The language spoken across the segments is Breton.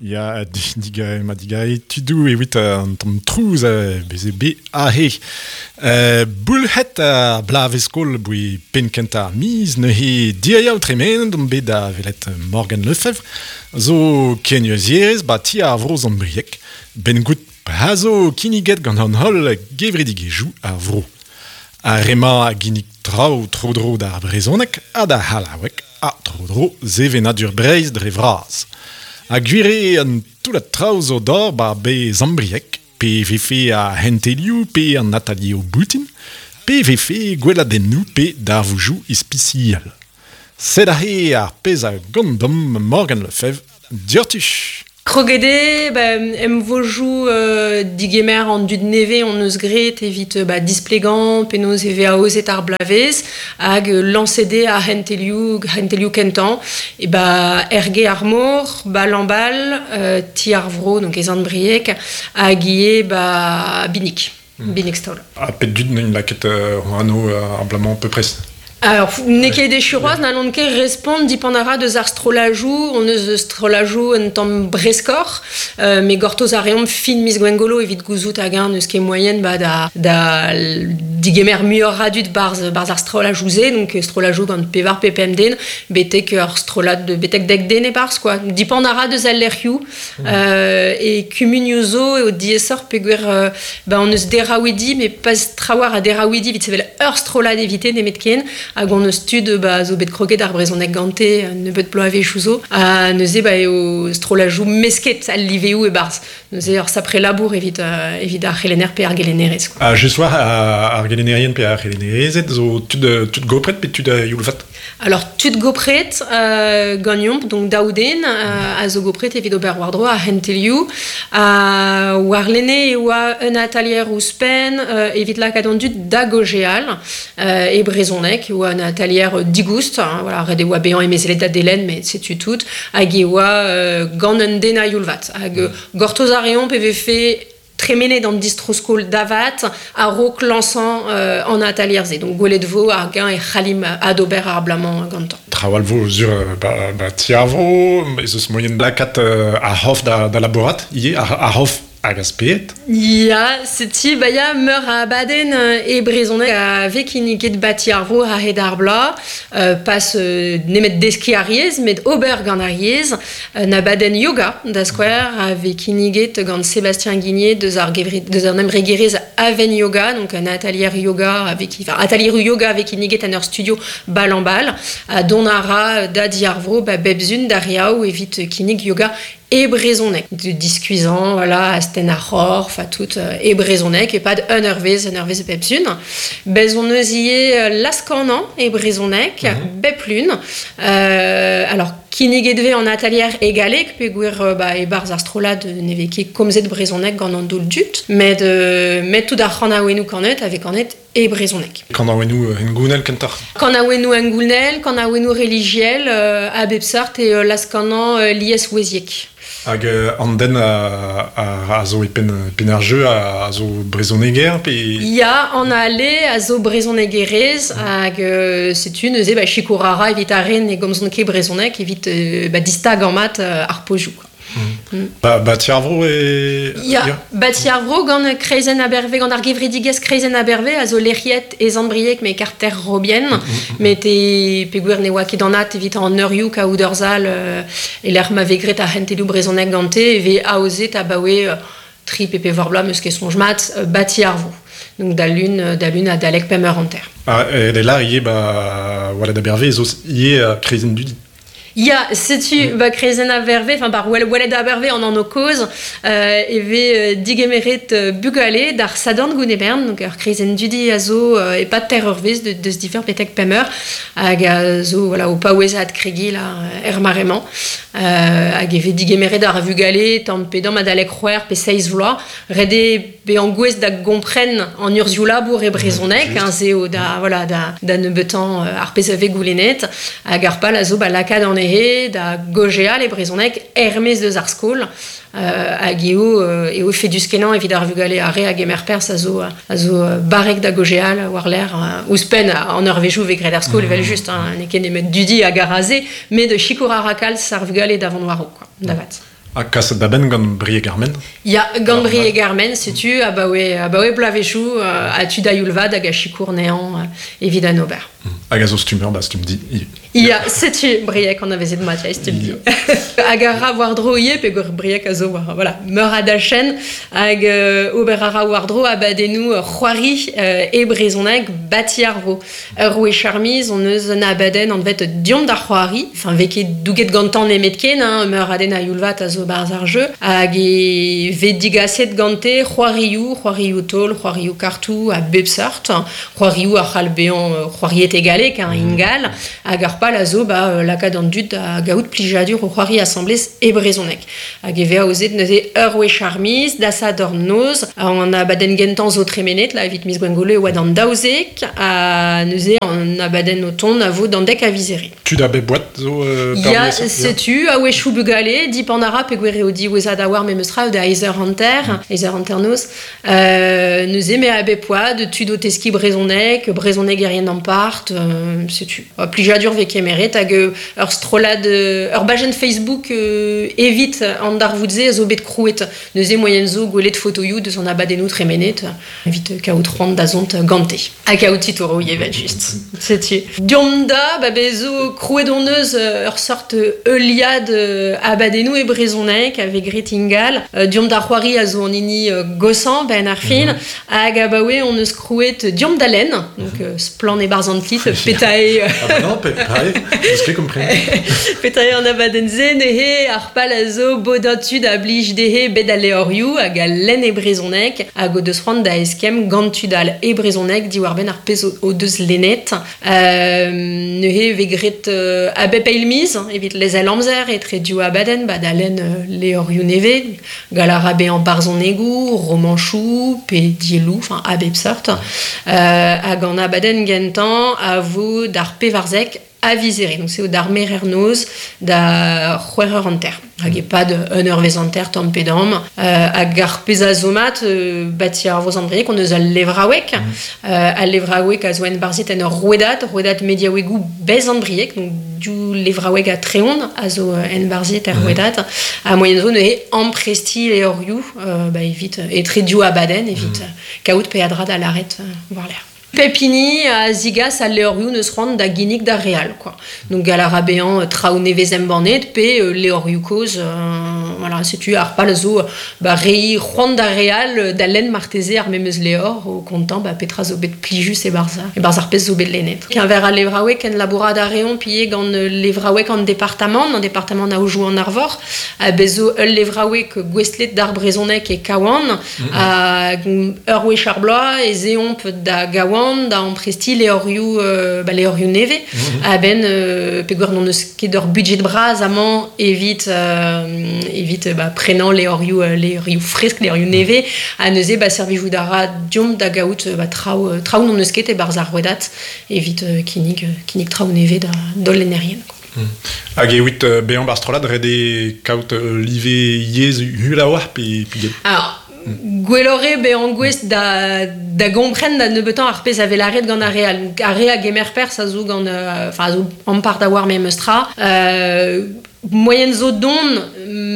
Ya, digae, ma digae tudou evit an tamm trouz beze be ahe. Boulc'het ar bloavezh-skol boe penn kentañ ar miz neuze diriaou tremenet omp bet da welet Morgan Lefebvre zo kenurzhierez ba ti ar vro Sant-Brieg 'benn goût pa zo kinniget gant an holl gevredigezhioù ar vro. Ar re-mañ a ginnig traoù tro-dro d'ar brezhoneg ha d'ar c'hallaoueg ha tro-dro sevenadur Breizh dre vras. Ha gwir eo an toullad traoù zo d'ober 'ba bez Zambrieg, pe vefe ar c'hentelioù pe an atalieroù boutin, pe vefe gweladennoù pe darvoudoù ispisial. Sed aze ar pezh a gont deomp Morgan Lefebvre diouzhtu. Kroget eo ba emvojoù digemer an dud nevez hon eus graet evit ba displegañ penaos e vez aozet ar bloavezh hag lañset eo ar c'hentelioù c'hentelioù kentañ e ba Erge ar Mor, ba Lambal, Ti ar Vro donc e Sant-Brieg hag ivez ba Binig. Binig-Staol. Ha pet dud n'int lakaet anv ar bloaz-mañ peupres? Alors, n'eo ket echu c'hoazh, n'hallont ket respont dipant a ra deus ar strollajoù, on eus strollajoù un tamm breskoc'h, met gortoz a reomp fin miz Gwengolo evit gouzout hag-eñ n'eus ket moaien ba, da, da digemer muioc'h a dud barzh, barzh ar strollajoù-se, donc strollajoù gant pevar pe pemp den, betek ur strollad betek dek den e-barzh quoi. Dipant a ra deus al lec'hioù E kumunioù zo eo diaesoc'h peogwir ba hon eus deraouidi met pas trawalc'h a deraouidi evit sevel ur strollad evite nemetken hag hon eus tud ba zo bet kroget ar brezhoneg gante un nebeud bloavezhioù zo ha neuze ba eo strollajoù mesket al liveoù e-barzh neuze ur sapre labour evit evit ar c'helenner pe ar gelennerez quoi. Ha just war ar gelennerien pe ar c'helennerezed zo tud tud gopret pe tud a youl vat? Alors tud gopret ganeomp, donc daou den a zo gopret evit ober war-dro ar c'hentelioù. Warlene e oa un atalier ouzhpenn evit lakaat an dud da gaozeal e brezhoneg. E oa un atalier digoust, hein, voilà, ret e oa bezañ emezelet da Delenn, met setu tout. Hag e oa gant un den a-youl vat. Hag gortoz a reomp e vefe tremenet an distro-skol da vat a-raok lañsañ an atalier-se. Donc gwelet vo hag-eñ e c'hallimp adober ar bloaz-mañ gantañ. Trawal vo sur ba, ba ti ar vro, ez eus moyen lakaat ar c'hof da, da labourat ivez, ar, ar c'hof hag a sped. Ya, setu ba ya meur a abadenn e brezhoneg a vez kinniget ba ti ar vro a-hed ar bloaz. Pas nemet deskiñ ar yezh, met ober gant ar yezh. Un abadenn yoga, da skouer, a vez kinniget gant Sébastien Guigné deus ar gevred, deus an embregerezh Aven Yoga, donc un atalier yoga avec, enfin, atalier yoga vez kinniget en ur studio bal en bal, ha dont a ra da di ar vro ba bep zun d'ar yaou evit kinnig yoga e brezhoneg. De diskuizhañ, voilà, astenn ar c'horf ha tout e brezhoneg e-pad un eurvezh, un eurvezh bep zun. Bez on eus ivez laz-kanañ e brezhoneg, bep lun. Alors, Kinniget vez an atalier e galleg peogwir ba, e-barzh ar strollad ne vez ket komzet brezhoneg gant an daol dud, met met tout ar c'hanaouennoù kanet a vez kanet e brezhoneg. Kanaouennoù hengounel kentoc'h? Kanaouennoù hengounel, kanaouennoù relijiel a bep seurt e laz-kanañ lieswezhiek. Hag an den a, a zo e penn, penn ar jeu a, a zo brezhoneger pe... Ya, an Ale a zo brezhonegerez hag setu neuze ba, sikour a ra evit ar re ne gomzont ket brezhoneg evit ba, distagañ mat ar pozioù. Quoi. Ba, ba ti ar vro e... Ya, ba ti ar vro gant Kreizenn Aberve, gant ar gevredigezh Kreizenn Aberve a zo lec'hiet e Sant-Brieg met karter Robien, met e peogwir ne oa ket anat evit an eurioù kaout ur sal e-lec'h ma vez graet ar c'hentelioù brezhoneg gante e vez aozet abaoe tri pe pevar bloaz, 'meus ket soñj mat, ba ti ar vro. Donc da lun, da lun adalek pemp eur hanter. Ah, e là ivez ba Waled Aberve ez eus ivez Kreizenn Dudi. Ya, setu ba kreizenn Aberve, enfin bar Waled Aberve an anv kozh, e vez digemeret bugale d'ar Sadorn Gounebern, donc ur kreizenn dudi a zo e-pad teir eurvezh deus div eur betek pemp eur, hag a zo voilà, o paouez adkregiñ là er mare-mañ. Hag e vez digemeret ar vugale tamm pe damm adalek c'hwec'h pe seizh vloaz. Ret eo bezañ gouest da gompren an urzhioù labour e brezhoneg, hein, se eo da, voilà, da, da nebeutañ ar pezh a vez goulennet. Hag ar pal a zo ba lakaat anezhe da gaozeal e brezhoneg er-maez deus ar skol. Hag eo, eo efedus-kenañ evit ar vugale ar re a gemer perzh a zo, a zo barrek da gaozeal war-lerc'h. Ouzhpenn an eurvezhioù vez graet er skol evel-just, hein, n'eo ket nemet dudi hag ar aze, met sikour a ra kalz ar vugale da vont war-raok, quoi, da vat. Ha kaset da benn gant Brieg ar Men? Ya, gant Brieg ar Men, setu, abaoe bloavezhioù, ha tud a youl vat hag a sikour anezhañ evit an ober. Hag a zo stummer, ba Stumdi ivez. Ya, setu Brieg anavezet mat, ya, Stumdi. Hag a ra war-dro ivez, peogwir Brieg a zo war, voilà, meur a dachenn, hag ober a ra war-dro abadennoù c'hoari e brezhoneg bati ar vro. Ur wech ar miz hon eus un abadenn anvet Deomp da c'hoari. Enfin, vez ket douget gantañ nemetken, hein, meur a den a youl vat a zo 'barzh ar jeu. Hag e vez digaset gante c'hoarioù, c'hoarioù taol, c'hoarioù kartoù a bep seurt. C'hoarioù a c'hall bezañ c'hoariet e galleg, hein, ingal. Hag ar pal a zo ba, lakaat an dud da gaout plijadur o c'hoari asambles e brezhoneg. Hag e vez aozet neuze ur wech ar miz, da Sadorn noz. An abadenn gentañ zo tremenet, là, evit miz Gwengolo e oa d'an 12, ha neuze an abadenn o tont a vo d'an 10 a viz Here. Tud a bep oad zo Ya, setu, a-wechoù bugale, dipant a ra peogwir eo diwezhat a-walc'h memes tra, da eizh eur hanter, eizh eur hanternoz. Neuze me a bep oad, tud o teskiñ brezhoneg, brezhonegerien ampart, setu. Plijadur vez kemeret hag ur strollad, ur bajenn Facebook evit an darvoud-se a zo bet krouet. Neuze moaien zo gwelet fotoioù deus an abadennoù tremenet evit kaout c'hoant da zont gante. Ha kaout titouroù evel-just. Setu. Deomp da, ba bez zo krouet hon eus ur seurt heuliad abadennoù e brezhoneg a vez graet ingal. Deomp da c'hoari a zo an hini goshañ benn ar fin. Hag abaoe hon eus krouet Deomp da lenn, donc splann e-barzh an titl, petra eo... Ah bah non, pareil, n'eus ket kompren. Petra eo an abadenn-se neuze, ar pal a zo bodañ tud a blij dezhe bet al levrioù hag al lenn e brezhoneg hag o deus c'hoant da eskemm gant tud all e brezhoneg diwar-benn ar pezh o deus lennet. Neuze e vez graet a bep eil miz evit lezel amzer etre div abadenn ba da lenn levrioù nevez. Gall a ra bezañ barzhonegoù, romanchoù pe dielloù, enfin a bep seurt. Hag an abadenn gentañ a vo d'ar 14 a viz Here. Donc c'est d'ar merer-noz da 6h30. Hag e-pad un eurvezh hanter tamm pe damm. Hag ar pezh a zo mat, bati ar Vro-Sant-Brieg, on eus al levraoueg. Al levraoueg a zo enbarzhet en ur rouedad, rouedad mediaouegoù Bez-Sant-Brieg, donc div levraoueg ha Treon a zo enbarzhet er rouedad. Ha moaien zo neuze amprestiñ levrioù ba, evit etre div abadenn, evit kaout peadra da lâret war-lerc'h. Pep hini a zigas al levrioù n'eus c'hoant da ginnig d'ar re all, quoi. Donc gall a ra bezañ traoù nevez embannet pe levrioù kozh, voilà, setu ar pal a zo ba, reiñ c'hoant d'ar re all da lenn marteze ar memes levr o kontañ ba, petra zo bet plijus e-barzh e-barzh ar pezh zo bet lennet. Keñver al levraoueg kenlabourat a reomp ivez gant levraoueg an departamant, an departamant Aodoù-an-Arvor, ha bez zo ul levraoueg gouestlet d'ar brezhoneg e Kawan, Hag ur wech ar bloaz ez eomp da Gawan da amprestiñ levrioù, ba, levrioù nevez. A-benn peogwir n'hon eus ket ur budjed bras amañ evit, evit ba, prenañ levrioù, levrioù fresk, levrioù nevez. Ha neuze ba, servijout a ra deomp da gaout ba, traoù, traoù n'hon eus ket e-barzh ar rouedad evit kinnig, kinnig traoù nevez da d'hol lennerien. Hag evit bezañ barzh strollad ret eo kaout live yezh uhel a-walc'h pe get? Alors, gwelloc'h eo bezañ gouest da, da gompren da nebeutañ ar pezh a vez lâret gant ar re all. Ar re a gemer perzh a zo gant, enfin, a zo ampart a oar memes tra. Moaien zo dont,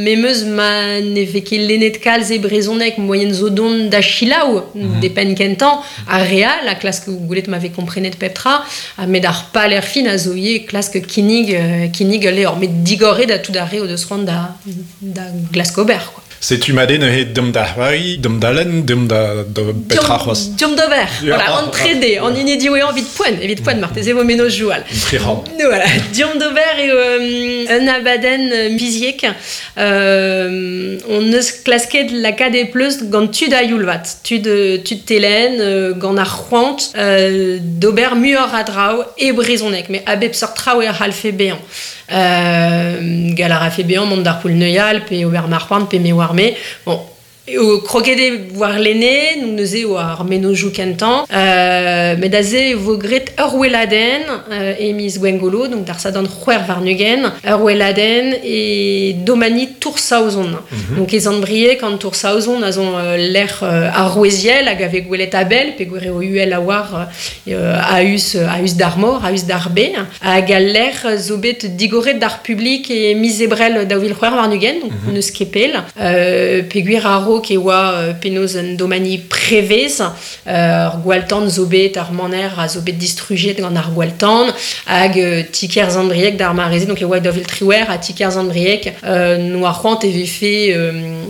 memes ma ne vez ket lennet kalz e brezhoneg, moaien zo dont da selaou de penn kentañ ar re all a klask gwelet ma vez komprenet pep tra, met ar pal er fin a zo ivez klask kinnig, kinnig ul levr, met digor eo da tout ar re o deus c'hoant da, da glask ober, quoi. Setu mat eo neuze deomp da c'hoari, deomp da lenn, deomp da, da petra c'hoazh. Deomp d'ober, voilà, an trede, an hini diwezhañ evit poent, evit poent marteze vo mennozhioù all. Voilà, deomp d'ober eo un abadenn miziek. On eus klasket lakaat e pleustr gant tud a youl vat, tud, tud telenn, gant ar c'hoant d'ober muioc'h a draoù e brezhoneg, met a bep seurt traoù e c'hallfe bezañ. Gall a rafe bezañ mont d'ar poull-neuial pe ober ma c'hoant pe me oar-me. Bon, O kroget eo war lene, donc neuze o ar menojou kentan. Met aze e vo gret ur weladenn e miz Gwengolo, donc d'ar sadan c'hwer warnugen, ur weladenn e domani Tour-Saozon. Donc e Zandbriek an Tour-Saozon a zon l'er ar roueziel hag ave gwelet abel, pe gwere o uhel a war a-us d'ar mor, a-us d'ar be, hag al l'er zo bet digoret d'ar publik e miz ebrel daouvil c'hwer warnugen, donc neus kepel, pe gwir ar e oa penaos un domani prevez, ar gwaltan zo bet, ar maner a zo bet distrujet gant ar gwaltan, hag tiker Zandbriek d'ar mareze, donc e oa daouvil triwer ha tiker Zandbriek, no ar c'hoant e vefe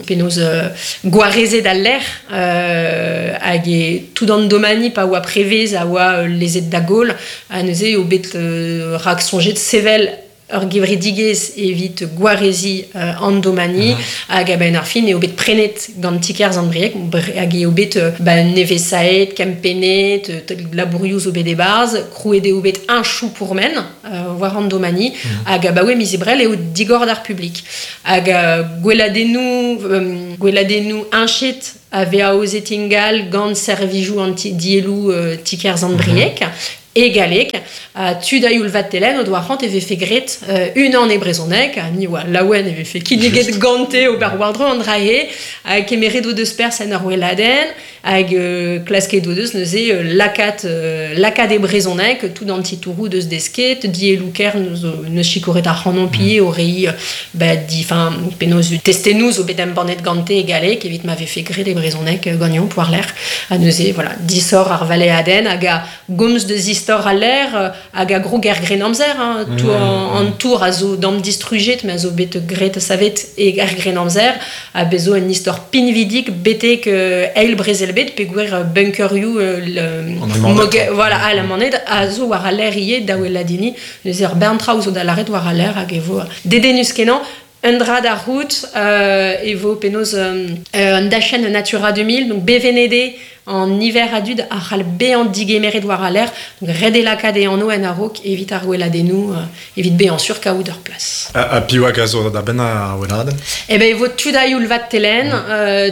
penaos gwarezet al lec'h, hag e tout an domani pa oa prevez a oa lezet da gaol, ha neuze eo bet rak sonjet sevel ur gevredigezh evit gwarezi an domani, hag a-benn ar fin eo bet prenet gant tiker Zandbriek, hag eo bet ba nevesaet, kempennet, labourioù zo bet e-barzh, krouet eo bet un chou pourmen war an domani, hag abaoe miz ebrel eo digor d'ar publik. Hag gweladennoù enchet a ve aozet ingal gant servijoù an dielloù tiker Zandbriek, e galleg, a tud a youl vat telen o doa c'hoant e vefe gret unan e brezhoneg, ha ni oa laouen e vefe kinniget gante ober war-dro an drae, hag kemeret o deus pers en ur weladenn, hag klasket o deus neuze lakat e brezhoneg, tout an titourou deus desket, dielloù ker neus chikoret ar c'hanon pie o rei ba, di, fin, penaos testennoù zo bet embannet gante e galleg, evit ma vefe gret e brezhoneg gagnon war l'air, ha neuze, voilà, disor ar valeadenn hag a gomz deus istor a l'air, hag a gro ger gren amzer, hein, tout an tour a zo dam distrujet, mais a zo bet gret savet e ger gren amzer, a bezo un istor pinvidik betek eil brezel bet, pe gwer bunkerioù voilà, a la maned a zo war a l'air ie daouel ladini, neuze ur bern traoù zo da laret war a l'air hag e vo dedennus kenañ. Un dra d'ar route, e vo penaos un dachenn Natura 2000, donc bevenede en hiver adud a c'hall bezañ digemeret war a l'air, donc ret e lakaat e anv en a-raok evit ar weladennoù, evit bezañ sur kaout ur plas. A piv hag a zo da benn ar weladenn? Eh ben, e vo tud a youl vat telen,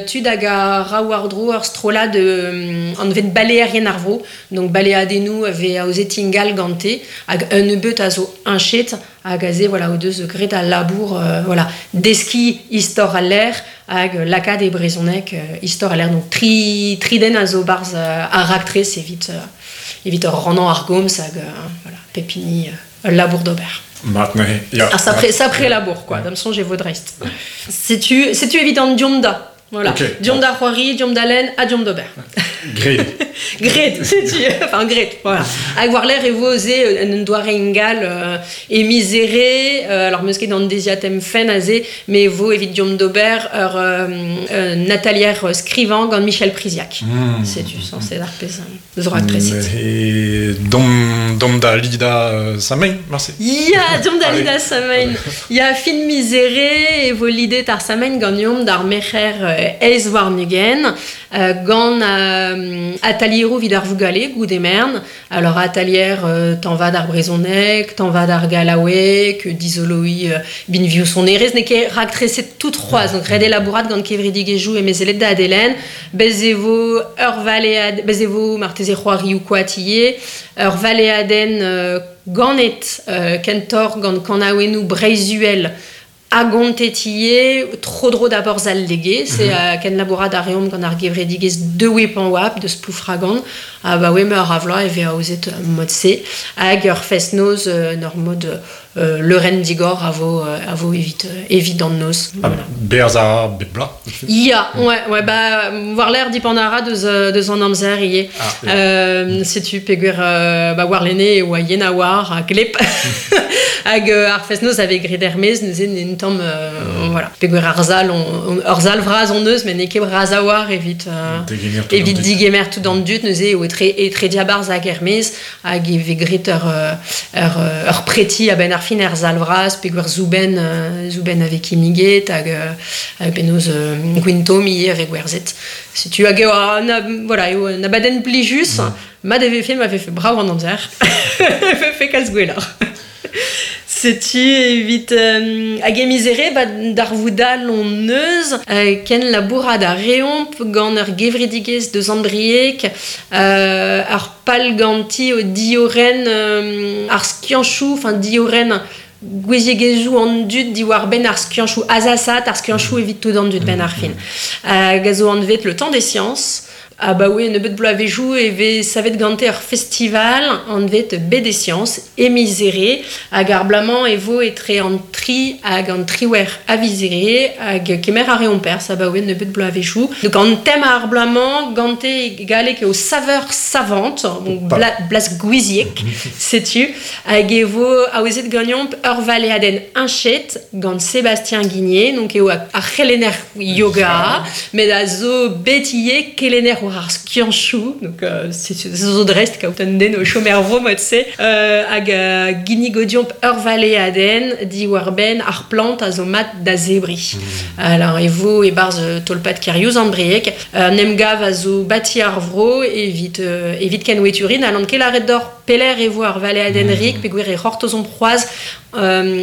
tud hag a ra war-dro ur strollad anvet baleerien ar vro, donc baleadennoù a vez aozet ingal gante, hag un nebeut a zo enchet, hag aze, voilà, o deus gret al labour, voilà, deski istor al l'air, hag lakaat e brezhoneg istor al l'air, donc tri den a zo barz ar raktres evit ur rannañ ar gomz hag voilà, pepini ul labour d'ober. Mat neuze, ya. Ah, sapre labour, quoi, da'm soñj e vo dreist. Setu evit an diomp da. Voilà. Okay. Diomp da c'hoari, diomp da lenn, ha diomp d'ober. Gret. Gret, setu. Enfin, gret, voilà. Hag war l'air e vo ze un doare ingal e misere, alors meus ket an deziatem fen aze, mais vo evit diomp d'ober ur Natalier skrivañ gant Michel Priziac. Setu, censé d'ar pezh zo raktreset. E dom da lida Samain, merci. Ya, diomp da lida Samain. Ya, fin misere e vo lidet ar Samain gant diomp d'ar merc'her eiz warnugen, gant atalieroù vid ar vougale, goude mern. Alors atalier tanvad ar brezhoneg, tanvad ar gallaoueg, dizoloi binvioù sonerezh, n'eo ket raktreset tout c'hoazh, donc ret elabourat gant kevredigezhioù e mezelet da Adelen, bez e vo ur valead, bez e vo marteze c'hoarioù koatie, ur valeadenn ganet kentor gant kanaouennoù Breizh-Uhel a gontetie tro-dro d'aborz al lege, c'est ken labourat ar reomp gant ar gevredigezh dewe pan oap deus ploufragan, ha ba oe meur a vloaz e vez aozet mod se, hag ur fest-noz ur mod leurenn digor a vo evit an noz. Ah, Voilà. Berz a bep bloaz. Ya, ouais, bah, war l'air dipend a ra deus an amzer ivez. Ah, ja. Setu peogwir ba war lene e oa yen a war a glep. Hag ar fest-noz a vez graet er-maez, neuze n'en tamm voilà. Peogwir ar zal, ur zal vras on eus, met n'eo ket bras a war evit Degemer tout evit an dud. digemer tout an dud, neuze eo etre diabarzh hag er-maez, hag e vez graet ur preti a-benn ar fin er zal vras, peogwir zouben a vez kinniget, hag penaos gwintom ivez a vez gwerzhet. Setu hag eo, na, voilà, eo un abadenn plijus, ma de vefe, ma vefe brav an amzer. Vefe kalz gwelloc'h. Setu evit hag e mizere ba d'ar voudal on neuz ken labourad a reomp gant ur gevredigezh deus Andriek ar pal ganti o dioren ar skianchou, enfin dioren gouiziegezhioù an dud diwar ben ar skianchou azasat, ar skianchou evit tout an dud ben ar fin. Hag a zo anvet le temps des sciences. Ah bah oui, nebeut bloavezhioù e vez savet gante ur festival anvet Baie des Sciences e Mizere hag ar blamañ e vo etre an tri hag an triwer a Vizere hag kemer a reomp perzh abaoe nebeut bloavezhioù. Donc an tem ar blamañ gante galleg eo saveur savante, donc blas gouiziek, setu, hag e vo aozet ganeomp ur valeadenn heñchet gant Sébastien Guigné, donc eo ar c'helenner yoga, met a zo bet ivez kelenner war ar skianchoù, donc c'est zo dreist kaout un den o chom er vro mod-se, hag ginnig o deomp ur valeadenn diwar-benn ar plant a zo mat da zebriñ. Alors e vo e-barzh tolpad Keriouz an Brieg, un emgav a zo bati ar vro evit evit kenweturin, ha n'on ket lâret deoc'h pelec'h e vo ar valeadenn rik, peogwir e c'hortozomp c'hoazh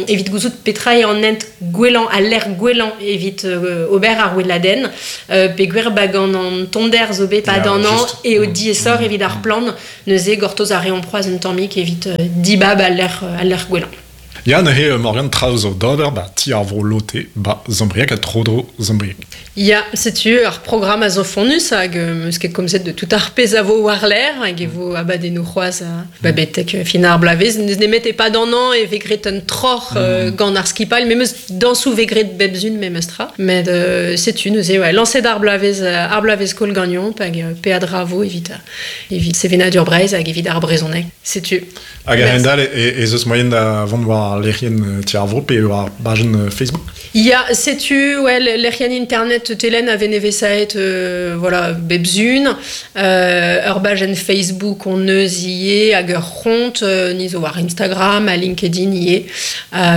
evit gouzout petra eo an hent gwellañ, al lec'h gwellañ evit ober ar weladenn, peogwir ba gant an tommder zo bet pad an hañv eo diaesoc'h evit ar plant, neuze gortoz a reomp c'hoazh un tammig evit dibab al lec'h gwellañ. Ya, neuze Morgan traoù zo d'ober ba ti ar vro Lotte ba Zambrieg ha tro-dro Zambrieg. Ya, setu ar programm a zo fonnus hag meus ket komzet de tout ar pezh a vo war-lerc'h hag e vo abadennoù c'hoazh ba betek fin ar bloavezh. N'eus nemet e-pad an hañv e vez graet un troc'h gant ar skipailh, memes dañsoù vez graet bep sun memes tra. Met setu neuze ouais, lañset ar bloavezh ar bloavezh skol ganeomp hag peadra vo evit evit sevenadur Breizh hag evit ar brezhoneg. Setu. Hag a-hend-all ez eus moaien da vont war lec'hienn Ti ar Vro pe war bajenn Facebook? Ya, setu, ouais, lec'hienn internet Telenn a vez nevesaet voilà, bep sun. Ur bajenn Facebook on eus ivez hag ur c'hont ni zo war Instagram ha LinkedIn ivez.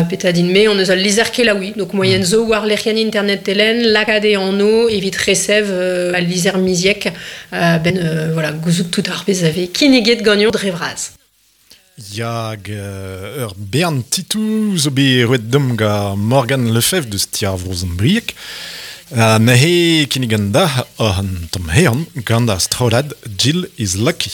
Petra din-me, on eus al lizher kelaouiñ. Donc moaien zo war lec'hienn internet Telenn lakaat e anv evit resev al lizher miziek ben voilà, gouzout tout ar pezh a vez kinniget ganeomp dre vras. Ya, hag ur bern titoù zo bet roet deomp gant Morgan Lefebvre deus ti ar Vro Sant-Brieg. Ha neuze kinnigan da oc'h an tamm hean gant ar strollad Jill is Lucky.